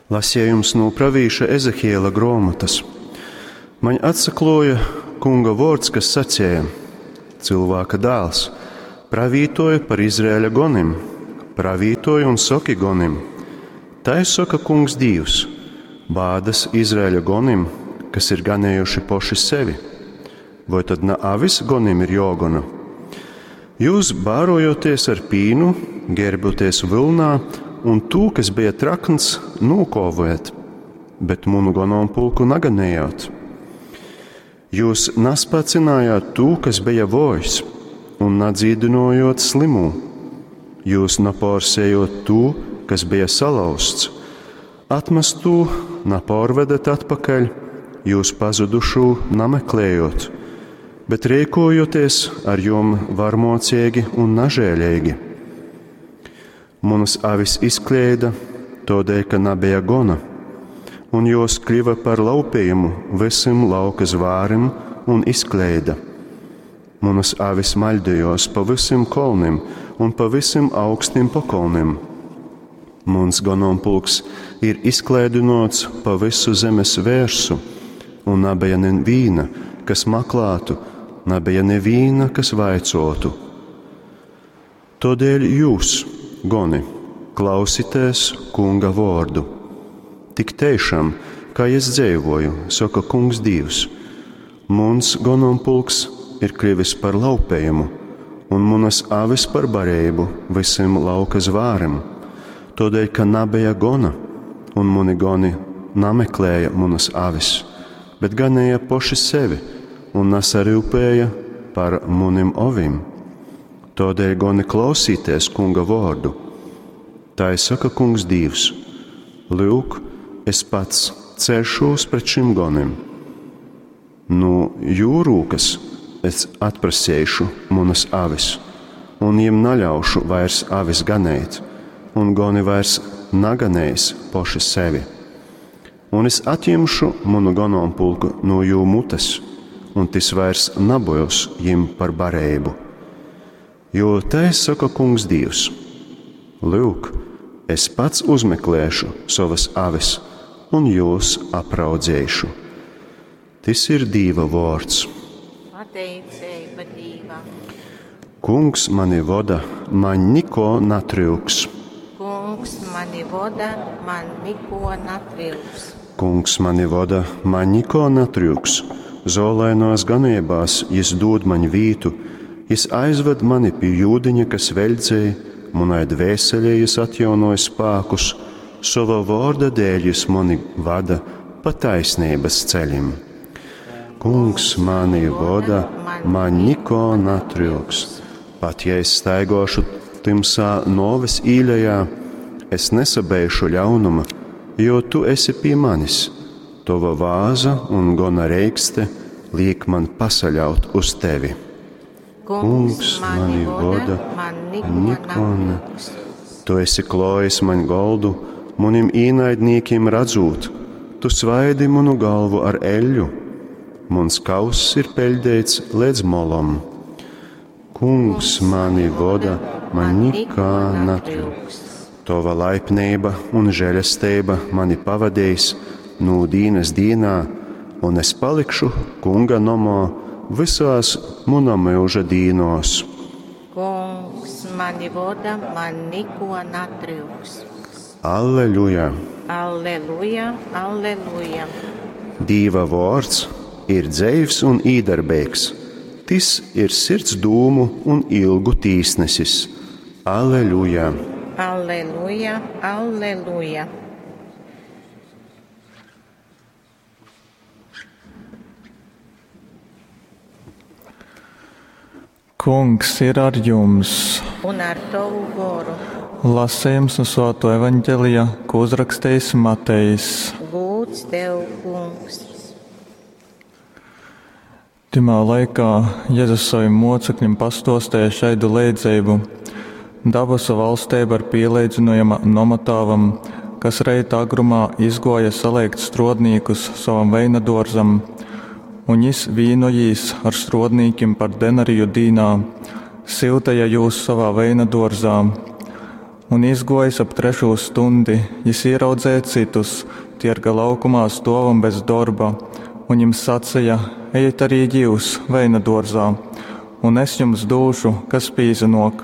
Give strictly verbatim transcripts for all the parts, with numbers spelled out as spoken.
Lasījums no pravīša Ezehiela grāmatas. Man atsakloja kunga vārds, kas sacīja: Cilvēka dēls, pravītoja par Izraēļa gonim, pravītoja un soki gonim. Tai saka kungs Dievs, bādas Izraēļa gonim, kas ir ganējuši poši sevi. Vai tad na avis gonim ir jogona? Jūs bārojoties ar pīnu, gērboties vilnā, un tū, kas bija trakns, nūkovojat, bet munu gonompulku naganējāt. Jūs naspacinājāt tū, kas bija vojs, un nadzīdinojot slimū. Jūs naporsējot tū, kas bija salauzts, atmestū napārvedat atpakaļ, jūs pazudušū nameklējot, bet rīkojoties ar jom varmocīgi un nažēlīgi. Manas avis izkļēda, todēļ, ka nabija gona, un jos kļuva par laupījumu visiem lauka zvārim un izkļēda. Manas avis maļdījos pa visiem kolnim un pa visiem augstiem pakolnim. Mans gonompulks ir izklēdinots pa visu zemes vērsu, un nabija nevīna, kas maklātu, nabija nevīna, kas vaicotu. Todēļ jūs, goni, klausieties kunga vārdu. Tik tiešām, kā es dzīvoju, saka kungs Dievs, mans gonompulks ir kļuvis par laupējumu, un manas avis par barību visiem lauka zvārim, todēļ, ka nabija gona, un mani goni nameklēja manas avis, bet ganēja poši sevi un nasarūpēja par munim ovim. Todēļ goni klausīties kunga vārdu. Tā saka kungs Dievs: Lūk, es pats celšos pret šim gonim. No jūrūkas es atprasīšu manas avis, un jiem naļaušu vairs avis ganēt, un goni vairs naganēs poši sevi. Un es atņemšu manu gonompulku no jū mutes, un tis vairs nabojos jim par barību. Jo tai saka kungs Dievs: Lūk, es pats uzmeklēšu savas avis un jūs apraudzēšu. Tis ir Dieva vārds. Pateicība Dievam. Kungs mani voda, man niko natryuks. Kungs mani voda, man niko natryuks. Kungs mani voda, man niko natryuks. Zolainās ganībās jis dod man vītu, jis aizved mani pie jūdiņa, kas veļdzēja, manai dvēselē jis atjaunoja spēkus, sava vārda dēļ jis mani vada pa taisnības ceļim. Kungs mani voda, man niko natryuks. Pat ja es staigošu timsā noves īlejā, es nesabēšu ļaunuma, jo tu esi pie manis. Tava vāza un gona reikste liek man pasaļaut uz tevi. Kungs mani voda, man niko natryuks. Tu esi klojis man goldu, manim īnaidniekiem redzot, tu svaidi manu galvu ar eļļu, mans kauss ir peļdēts līdz molom. Kungs mani voda, man nikā natryuks. Tava laipnība un žēlastība mani pavadīs no dienas dienā, un es palikšu kunga nomā visās muna mūža dīnos. Kungs mani voda, man niko natryuks. Alleluja! Alleluja, alleluja. Dīva vārds ir dzeivs un īdarbīgs. Tis ir sirds dūmu un ilgu tīsnesis. Alleluja! Alleluja, alleluja. Kungs ir ar jums. Un ar tavu goru. Lasījums no Svēto evaņģelija, ko uzrakstījis Matejs. Gūts tev, kungs. Timā laikā Jēzus saviem mocekļiem pastostēja šaidu leidzeibu. Dabasu valstība ir pielīdzinojama nomatāvam, kas reita agrumā izgoja saliekt strodnīkus savam veinadorzam, un jis vīnojīs ar strodnīkim par denariju dīnā, siltaja jūs savā veinadorzā. Un izgōjis ap trešū stuņdi, jys īraudzeja cytus tierga laukumā stōvam bez dorba un jim saceja, Ejit arī jyus veinadōrzā, un es jums dūšu, kas pīsanōk.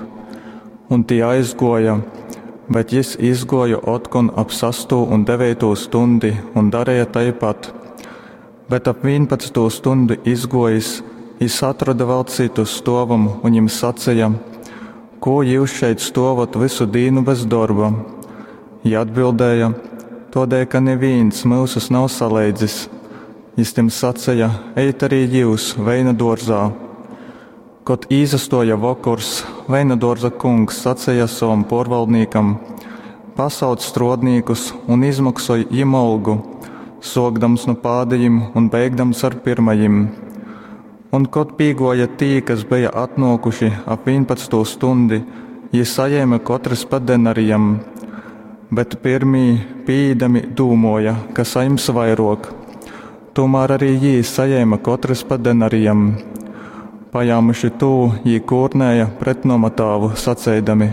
Un tī aizgōja, bet jys izgōja otkon ap sastū un deveitū stuņdi un dareja taipat. Bet ap vīnpadsmitū stuņdi izgōjis, jys atroda vēl cytus stōvam un jim saceja: Kū jyus šeit stōvat vysu dīnu bez dorba? Jī atbildēja: Tōdēļ, ka nivīns myusus nav saleidzis. Jys tim saceja: Ejit arī jyus veinadōrzā. Kod īsastōja vokors, veinadōrza kungs saceja sovam pōrvaldnīkam: Pasauc strōdnīkus un izmoksoj jim olgu, sōkdams nu pādejim un beigdams ar pyrmajim. Un kod pīgōja tī, kas beja atnōkuši ap vīnpadsmitū stuņdi, jī sajēme kotrys pa denarijam. Bet pyrmī, pīīdami, dūmōja, ka sajims vairōk. Tūmār arī jī sajēme kotrys pa denarijam. Pajāmuši tū, jī kūrnēja pret nomatāvu, saceidami: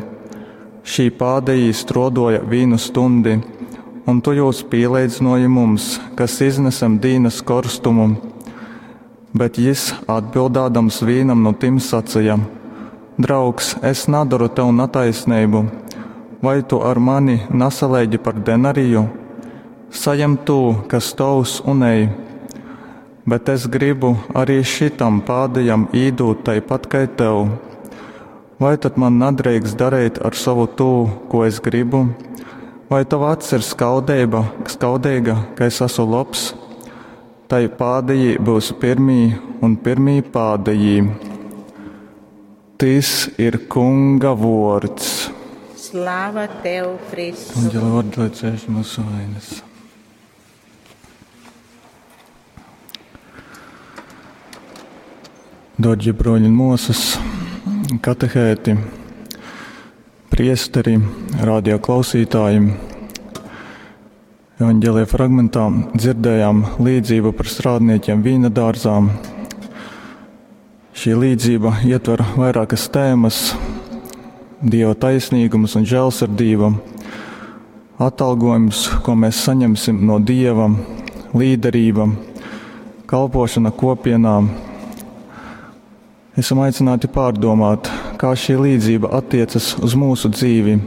Šī pādejī strōdōja vīnu stuņdi, un tu jūs pīleidzynōji mums, kas iznesem dīnas korstumu. Bet jys, atbildādams vīnam nu tim, saceja: Draugs, es nadoru tev nataisneibu. Vai tu ar mani nasaleigi par denariju? Sajem tū, kas tovs, un ej. Bet es gribu arī šitam pādejam īdūt taipat kai tev. Vai tad man nadreikst dareit ar sovu tū, ko es gribu? Vai tova acs ir skaudeiba, skaudeiga, ka es esmu lobs? Tai pādejī būs pirmī un pirmī pādejī. Tys ir Kunga vōrds. Slava tev, Kristu! Evanģelia vārdi, lai cieš mūsu vainas. Dārgie broļi un māsas, katehēti, priesteri, radio klausītāji. Evanģelija fragmentā dzirdējām līdzību par strādniekiem vīna dārzā. Šī līdzība ietver vairākas tēmas: Dieva taisnīgums un žēlsirdība, atalgojums, ko mēs saņemsim no Dieva, līderība, kalpošana kopienā. Esam aicināti pārdomāt, kā šī līdzība attiecas uz mūsu dzīvi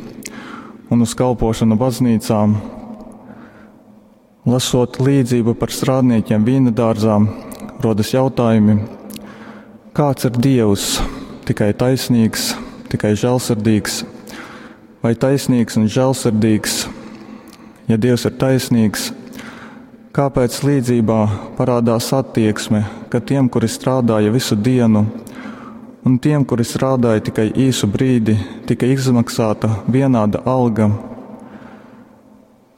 un uz kalpošanu baznīcā. Lasot līdzību par strādniekiem vīna dārzā, rodas jautājumi: kāds ir Dievs? Tikai taisnīgs, tikai žēlsirdīgs, vai taisnīgs un žēlsirdīgs? Ja Dievs ir taisnīgs, kāpēc līdzībā parādās attieksme, ka tiem, kuri strādāja visu dienu, un tiem, kuri strādāja tikai īsu brīdi, tika izmaksāta vienāda alga?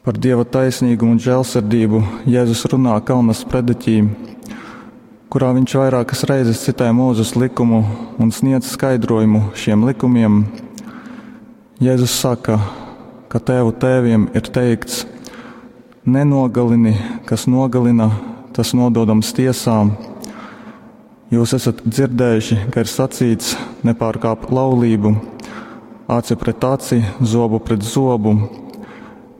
Par Dieva taisnīgumu un žēlsirdību Jēzus runā Kalna sprediķī, kurā viņš vairākas reizes citē Mūzes likumu un sniedz skaidrojumu šiem likumiem. Jēzus saka, ka tēvu tēviem ir teikts: nenogalini, kas nogalina, tas nododams tiesā. Jūs esat dzirdējuši, ka ir sacīts: nepārkāp laulību, aci pret aci, zobu pret zobu.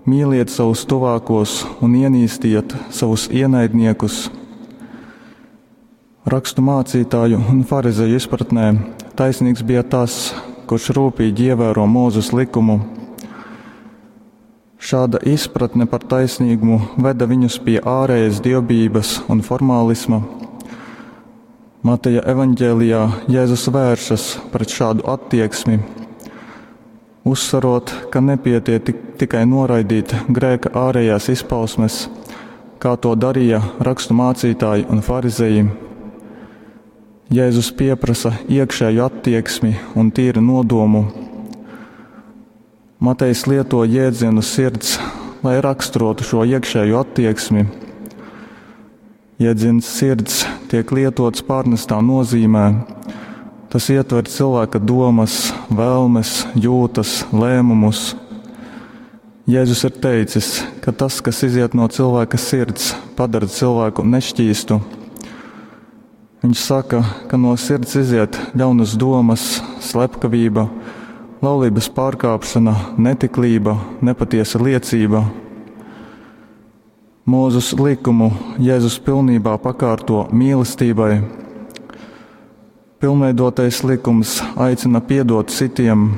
Mīliet savus tuvākos un ienīstiet savus ienaidniekus. Rakstu mācītāju un farizeju izpratnē taisnīgs bija tas, kurš rūpīgi ievēro Mūzes likumu. Šāda izpratne par taisnīgumu veda viņus pie ārējas dievbijības un formālisma. Mateja evaņģēlijā Jēzus vēršas pret šādu attieksmi, uzsverot, ka nepietiek tik, tikai noraidīt grēka ārējās izpausmes, kā to darīja rakstu mācītāji un farizeji. Jēzus pieprasa iekšēju attieksmi un tīru nodomu. Matejs lieto jēdzienu sirds, lai raksturotu šo iekšējo attieksmi. Jēdziens sirds tiek lietots pārnestā nozīmē. Tas ietver cilvēka domas, vēlmes, jūtas, lēmumus. Jēzus ir teicis, ka tas, kas iziet no cilvēka sirds, padara cilvēku nešķīstu. Viņš saka, ka no sirds iziet ļaunas domas, slepkavība, laulības pārkāpšana, netiklība, nepatiesa liecība. Mūzus likumu Jēzus pilnībā pakārto mīlestībai. Pilnveidotais likums aicina piedot citiem,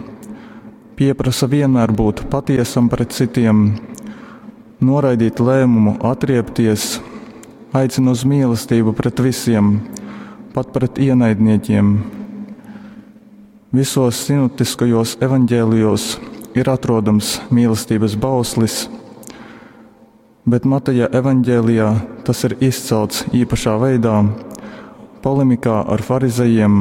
pieprasa vienmēr būt patiesam pret citiem, noraidīt lēmumu atriebties, aicina uz mīlestību pret visiem, pat pret ienaidniekiem. Visos sinoptiskajos evaņģēlijos ir atrodams mīlestības bauslis, bet Mateja evaņģēlijā tas ir izcelts īpašā veidā, polemikā ar farizejiem.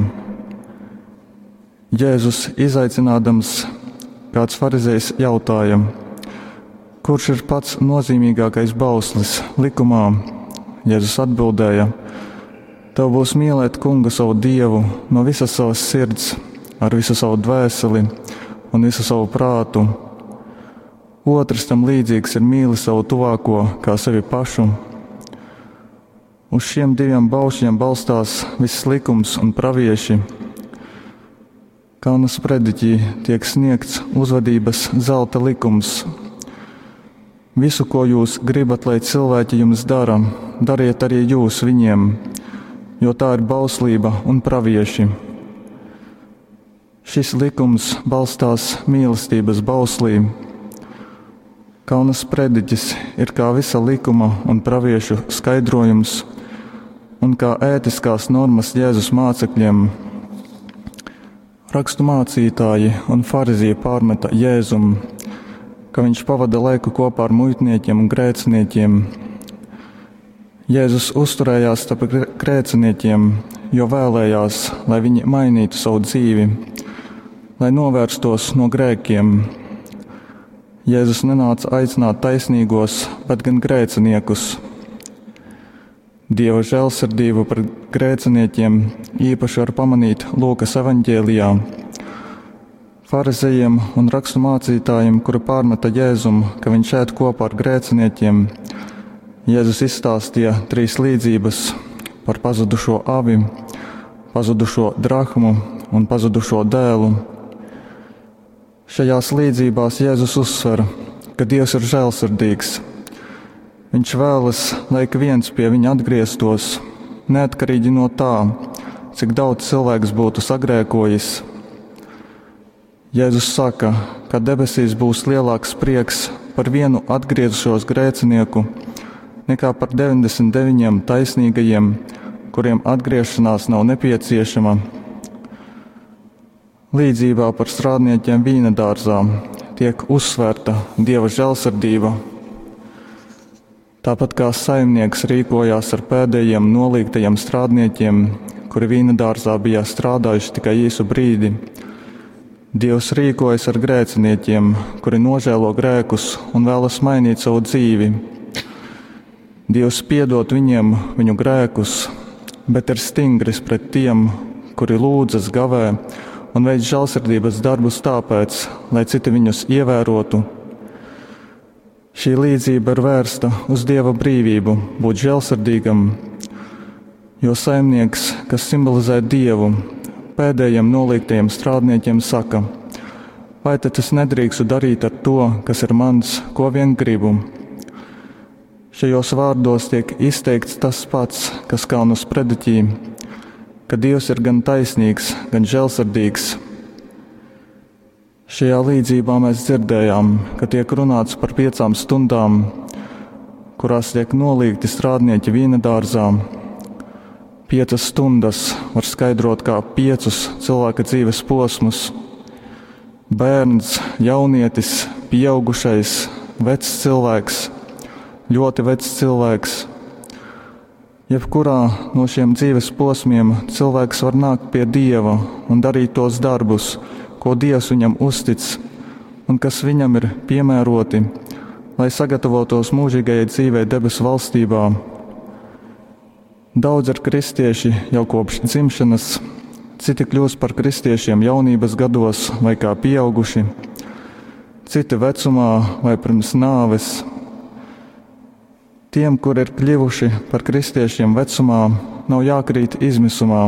Jēzus izaicinādams, kāds farizejs jautāja, kurš ir pats nozīmīgākais bauslis likumā? Jēzus atbildēja: Tev būs mīlēt kungu savu dievu no visas savas sirds, ar visu savu dvēseli un visu savu prātu. Otrs tam līdzīgs ir mīli savu tuvāko kā sevi pašu. Uz šiem diviem baušļiem balstās viss likums un pravieši. Kalna sprediķī tiek sniegts uzvedības zelta likums. Visu, ko jūs gribat, lai cilvēki jums dara, dariet arī jūs viņiem, jo tā ir bauslība un pravieši. Šis likums balstās mīlestības bauslī. Kalna sprediķis ir kā visa likuma un praviešu skaidrojums un kā ētiskās normas Jēzus mācekļiem. Rakstu mācītāji un farizieji pārmeta Jēzum, ka viņš pavada laiku kopā ar muitniekiem un grēciniekiem. Jēzus uzturējās starp grēciniekiem, jo vēlējās, lai viņi mainītu savu dzīvi, lai novērstos no grēkiem. Jēzus nenāca aicināt taisnīgos, bet gan grēciniekus. Dieva žēlsirdību pret grēciniekiem īpaši var pamanīt Lūkas evaņģēlijā. Farizejiem un rakstu mācītājiem, kuri pārmeta Jēzum, ka viņš ēd kopā ar grēciniekiem, Jēzus izstāstīja trīs līdzības par pazudušo avi, pazudušo drahmu un pazudušo dēlu. Šajās līdzībās Jēzus uzsver, ka Dievs ir žēlsirdīgs. Viņš vēlas, lai ik viens pie viņa atgrieztos, neatkarīgi no tā, cik daudz cilvēks būtu sagrēkojis. Jēzus saka, ka debesīs būs lielāks prieks par vienu atgriezušos grēcinieku nekā par deviņdesmit deviņiem taisnīgajiem, kuriem atgriešanās nav nepieciešama. Līdzībā par strādniekiem vīna dārzā tiek uzsvērta Dieva žēlsirdība. Tāpat kā saimnieks rīkojās ar pēdējiem nolīgtajiem strādniekiem, kuri vīna dārzā bija strādājuši tikai īsu brīdi, Dievs rīkojas ar grēciniekiem, kuri nožēlo grēkus un vēlas mainīt savu dzīvi. Dievs piedod viņiem viņu grēkus, bet ir stingrs pret tiem, kuri lūdzas, gavē un veic žēlsirdības darbus tāpēc, lai citi viņus ievērotu. Šī līdzība ir vērsta uz Dieva brīvību būt žēlsirdīgam, jo saimnieks, kas simbolizē Dievu, pēdējiem noliektajiem strādniekiem saka: vai tad es nedrīkstu darīt ar to, kas ir mans, ko vien gribu? Šajos vārdos tiek izteikts tas pats, kas kalnu sprediķī, ka Dievs ir gan taisnīgs, gan žēlsirdīgs. Šajā līdzībā mēs dzirdējām, ka tiek runāts par piecām stundām, kurās tiek nolīgti strādnieki vīna dārzā. Piecas stundas var skaidrot kā piecus cilvēka dzīves posmus. Bērns, jaunietis, pieaugušais, vecs cilvēks, ļoti vecs cilvēks. Jebkurā no šiem dzīves posmiem cilvēks var nākt pie Dieva un darīt tos darbus, ko Dievs viņam uztic un kas viņam ir piemēroti, lai sagatavotos mūžīgajai dzīvei debesu valstībā. Daudz ir kristieši jau kopš dzimšanas, citi kļūst par kristiešiem jaunības gados vai kā pieauguši, citi vecumā vai pirms nāves. Tiem, kur ir kļuvuši par kristiešiem vecumā, nav jākrīt izmisumā.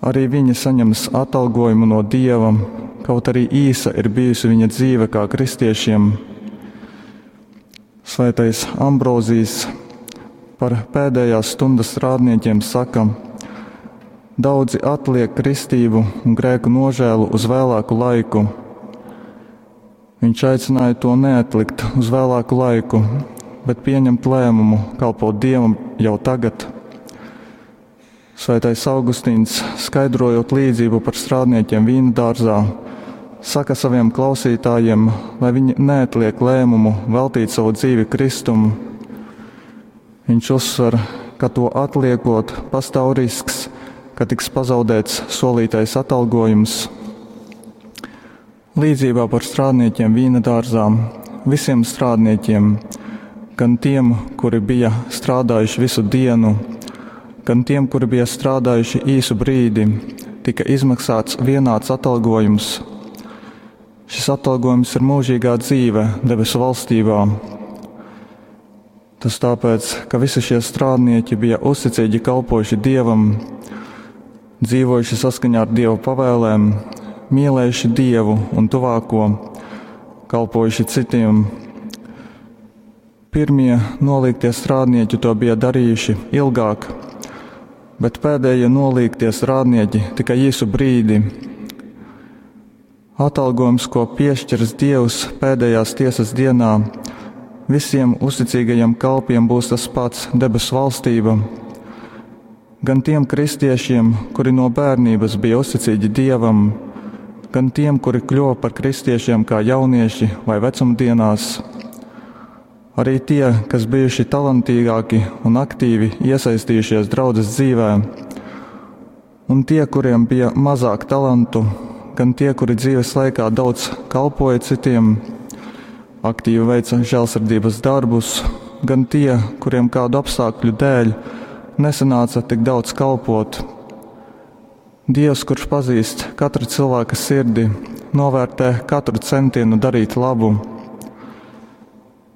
Arī viņi saņems atalgojumu no Dieva, kaut arī īsa ir bijusi viņa dzīve kā kristiešiem. Svētais Ambrozijs par pēdējās stundas strādniekiem saka: Daudzi atliek kristību un grēku nožēlu uz vēlāku laiku. Viņš aicināja to neatlikt uz vēlāku laiku, bet pieņemt lēmumu kalpot Dievam jau tagad. Svētais Augustīns, skaidrojot līdzību par strādniekiem vīna dārzā, saka saviem klausītājiem, lai viņi neatliek lēmumu veltīt savu dzīvi Kristumu. Viņš uzsver, ka to atliekot, pastāv risks, ka tiks pazaudēts solītais atalgojums. Līdzībā par strādniekiem vīna dārzā visiem strādniekiem, gan tiem, kuri bija strādājuši visu dienu, gan tiem, kuri bija strādājuši īsu brīdi, tika izmaksāts vienāds atalgojums. Šis atalgojums ir mūžīgā dzīve debesu valstībā. Tas tāpēc, ka visi šie strādnieki bija uzticīgi kalpojuši Dievam, dzīvojuši saskaņā ar Dieva pavēlēm, mīlējuši Dievu un tuvāko, kalpojuši citiem. Pirmie noliektie strādnieki to bija darījuši ilgāk, bet pēdējie noliektie strādnieki tikai īsu brīdi. Atalgojums, ko piešķirs Dievs pēdējās tiesas dienā, visiem uzticīgajiem kalpiem būs tas pats debesu valstība. Gan tiem kristiešiem, kuri no bērnības bija uzticīgi Dievam, gan tiem, kuri kļuva par kristiešiem kā jaunieši vai vecumdienās. Arī tie, kas bijuši talantīgāki un aktīvi iesaistījušies draudzes dzīvē, un tie, kuriem bija mazāk talantu, gan tie, kuri dzīves laikā daudz kalpoja citiem, aktīvi veica žēlsirdības darbus, gan tie, kuriem kādu apstākļu dēļ nesanāca tik daudz kalpot. Dievs, kurš pazīst katra cilvēka sirdi, novērtē katru centienu darīt labu.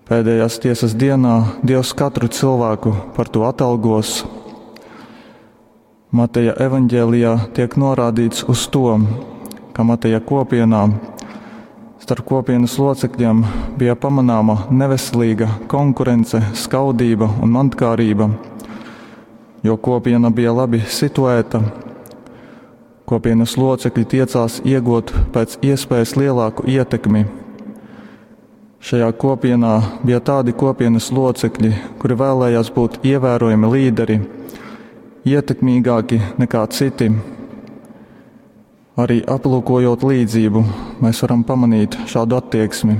Pēdējās tiesas dienā Dievs katru cilvēku par to atalgos. Mateja evaņģēlijā tiek norādīts uz to, ka Mateja kopienā starp kopienas locekļiem bija pamanāma neveselīga konkurence, skaudība un mantkārība, jo kopiena bija labi situēta. Kopienas locekļi tiecās iegūt pēc iespējas lielāku ietekmi. Šajā kopienā bija tādi kopienas locekļi, kuri vēlējās būt ievērojami līderi, ietekmīgāki nekā citi. Arī aplūkojot līdzību, mēs varam pamanīt šādu attieksmi.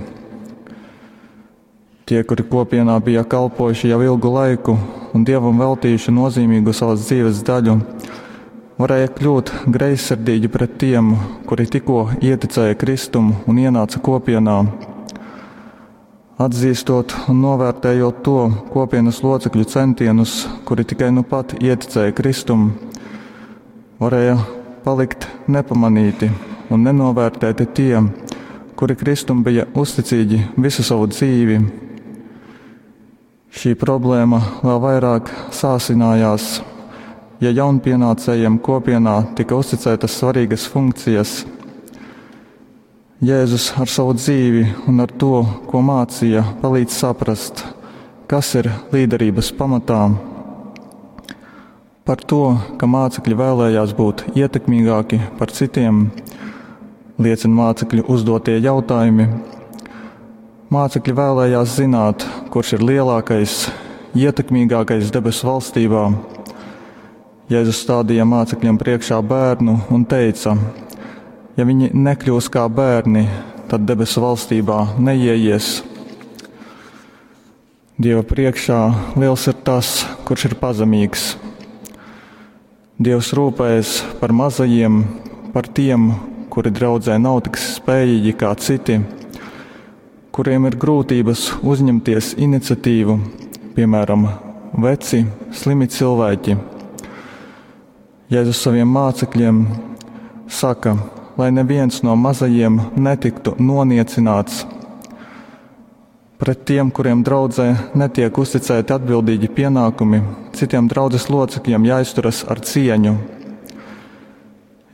Tie, kuri kopienā bija kalpojuši jau ilgu laiku un Dievam veltījuši nozīmīgu savas dzīves daļu, varēja kļūt greizsirdīgi pret tiem, kuri tikko ieticēja Kristumu un ienāca kopienā. Atzīstot un novērtējot to kopienas locekļu centienus, kuri tikai nu pat ieticēja Kristumu, varēja palikt nepamanīti un nenovērtēti tie, kuri Kristum bija uzticīgi visu savu dzīvi. Šī problēma vēl vairāk sāsinājās, ja jaunpienācējiem kopienā tika uzticētas svarīgas funkcijas. Jēzus ar savu dzīvi un ar to, ko mācīja, palīdz saprast, kas ir līderības pamatā. Par to, ka mācekļi vēlējās būt ietekmīgāki par citiem, liecina mācekļu uzdotie jautājumi. Mācekļi vēlējās zināt, kurš ir lielākais, ietekmīgākais debesu valstībā. Jēzus stādīja mācekļiem priekšā bērnu un teica: ja viņi nekļūs kā bērni, tad debesu valstībā neieies. Dieva priekšā liels ir tas, kurš ir pazemīgs. Dievs rūpējas par mazajiem, par tiem, kuri draudzē nav tik spējīgi kā citi, kuriem ir grūtības uzņemties iniciatīvu, piemēram, veci, slimi cilvēki. Jēzus saviem mācekļiem saka, lai neviens no mazajiem netiktu noniecināts. Pret tiem, kuriem draudzē netiek uzticēti atbildīgi pienākumi, citiem draudzes locekļiem jāizturas ar cieņu.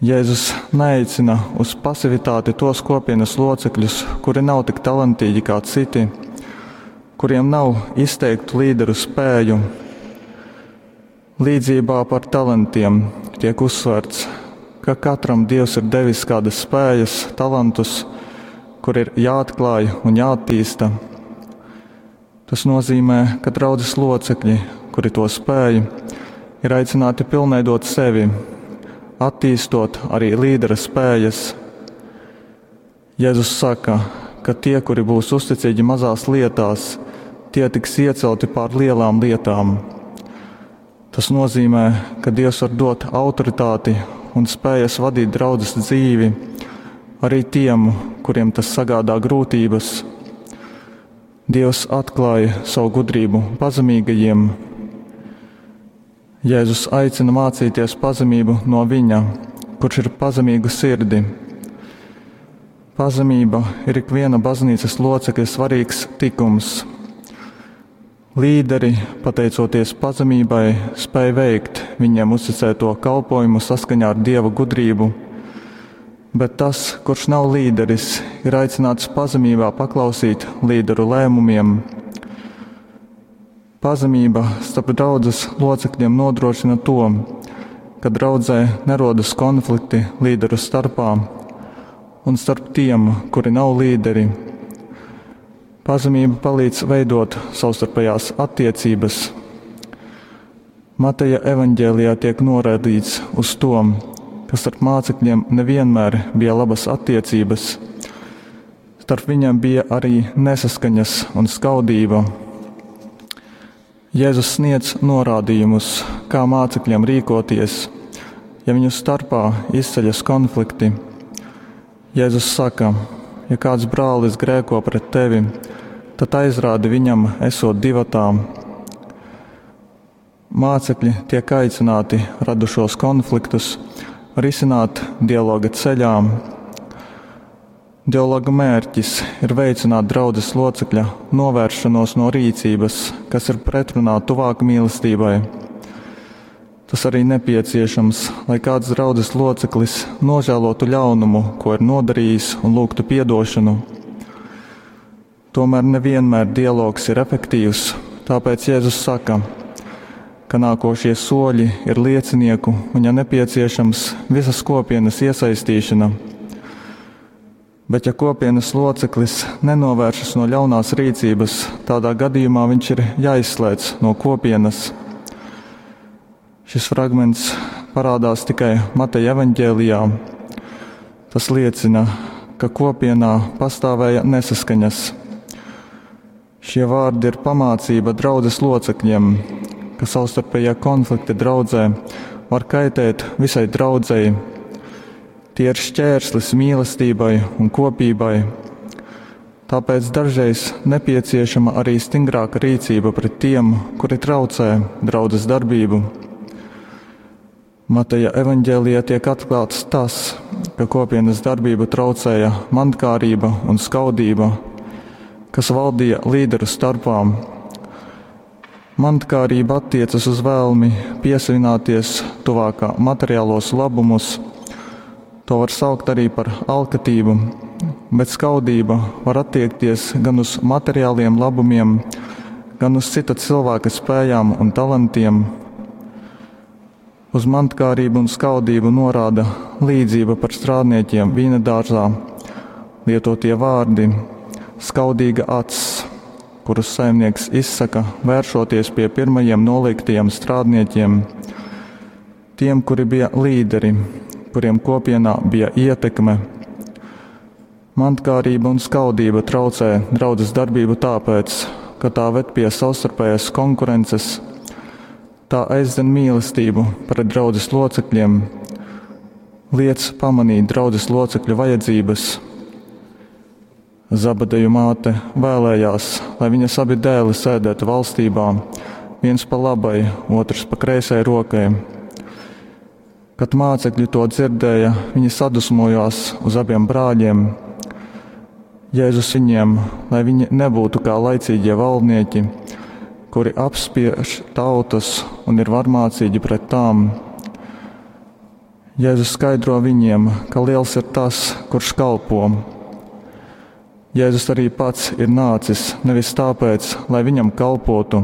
Jēzus neaicina uz pasivitāti tos kopienas locekļus, kuri nav tik talantīgi kā citi, kuriem nav izteiktu līderu spēju. Līdzībā par talantiem tiek uzsverts, ka katram Dievs ir devis kādas spējas, talantus, kur ir jāatklāj un jāattīsta. Tas nozīmē, ka draudzes locekļi, kuri to spēj, ir aicināti pilnveidot sevi, attīstot arī līdera spējas. Jēzus saka, ka tie, kuri būs uzticīgi mazās lietās, tie tiks iecelti pār lielām lietām. Tas nozīmē, ka Dievs var dot autoritāti un spējas vadīt draudzes dzīvi arī tiem, kuriem tas sagādā grūtības. Dievs atklāja savu gudrību pazemīgajiem. Jēzus aicina mācīties pazemību no viņa, kurš ir pazemīgu sirdi. Pazemība ir ikviena baznīcas locekļa svarīgs tikums. Līderi, pateicoties pazemībai, spēj veikt viņiem uzticēto kalpojumu saskaņā ar Dieva gudrību, bet tas, kurš nav līderis, ir aicināts pazemībā paklausīt līderu lēmumiem. Pazemība starp draudzes locekļiem nodrošina to, ka draudzē nerodas konflikti līderu starpā un starp tiem, kuri nav līderi. Pazemība palīdz veidot savstarpējās attiecības. Mateja evaņģēlijā tiek norādīts uz to, ka starp mācekļiem nevienmēr bija labas attiecības. Starp viņiem bija arī nesaskaņas un skaudība. Jēzus sniedz norādījumus, kā mācekļiem rīkoties, ja viņu starpā izceļas konflikti. Jēzus saka, ja kāds brālis grēko pret tevi, tad aizrādi viņam, esot divatā. Mācekļi tiek aicināti radušos konfliktus risināt dialoga ceļā. Dialoga mērķis ir veicināt draudzes locekļa novēršanos no rīcības, kas ir pretrunā tuvāka mīlestībai. Tas arī nepieciešams, lai kāds draudzes loceklis nožēlotu ļaunumu, ko ir nodarījis, un lūgtu piedošanu. Tomēr nevienmēr dialogs ir efektīvs, tāpēc Jēzus saka, ka nākošie soļi ir liecinieku un, ja nepieciešams, visas kopienas iesaistīšana. Bet ja kopienas loceklis nenovēršas no ļaunās rīcības, tādā gadījumā viņš ir jāizslēdz no kopienas. Šis fragments parādās tikai Mateja evaņģēlijā. Tas liecina, ka kopienā pastāvēja nesaskaņas. Šie vārdi ir pamācība draudzes locekļiem, ka savstarpējie konflikti draudzē var kaitēt visai draudzei. Tie ir šķērslis mīlestībai un kopībai. Tāpēc dažreiz nepieciešama arī stingrāka rīcība pret tiem, kuri traucē draudzes darbību. Mateja evaņģēlijā tiek atklāts tas, ka kopienas darbību traucēja mantkārība un skaudība, kas valdīja līderu starpā. Mantkārība attiecas uz vēlmi piesavināties tuvākā materiālos labumus. To var saukt arī par alkatību, bet skaudība var attiekties gan uz materiāliem labumiem, gan uz cita cilvēka spējām un talantiem. Uz mantkārību un skaudību norāda līdzība par strādniekiem vīna dārzā, lietotie vārdi skaudīga acs, kurus saimnieks izsaka, vēršoties pie pirmajiem noliktajiem strādniekiem, tiem, kuri bija līderi, kuriem kopienā bija ietekme. Mantkārība un skaudība traucē draudzes darbību tāpēc, ka tā ved pie savstarpējas konkurences. Tā aizdzen mīlestību pret draudzes locekļiem, liec pamanīt draudzes locekļu vajadzības. Zabadeju māte vēlējās, lai viņas abi dēli sēdētu valstībā, viens pa labai, otrs pa kreisai rokai. Kad mācekļi to dzirdēja, viņi sadusmojās uz abiem brāļiem. Jēzus viņiem, lai viņi nebūtu kā laicīgie valdnieki, kuri apspiež tautas un ir varmācīgi pret tām. Jēzus skaidro viņiem, ka liels ir tas, kurš kalpo. Jēzus arī pats ir nācis nevis tāpēc, lai viņam kalpotu,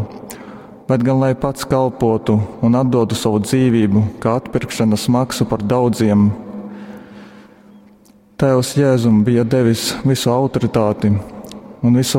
bet gan lai pats kalpotu un atdotu savu dzīvību kā atpirkšanas maksu par daudziem. Tēvs Jēzum bija devis visu autoritāti un visu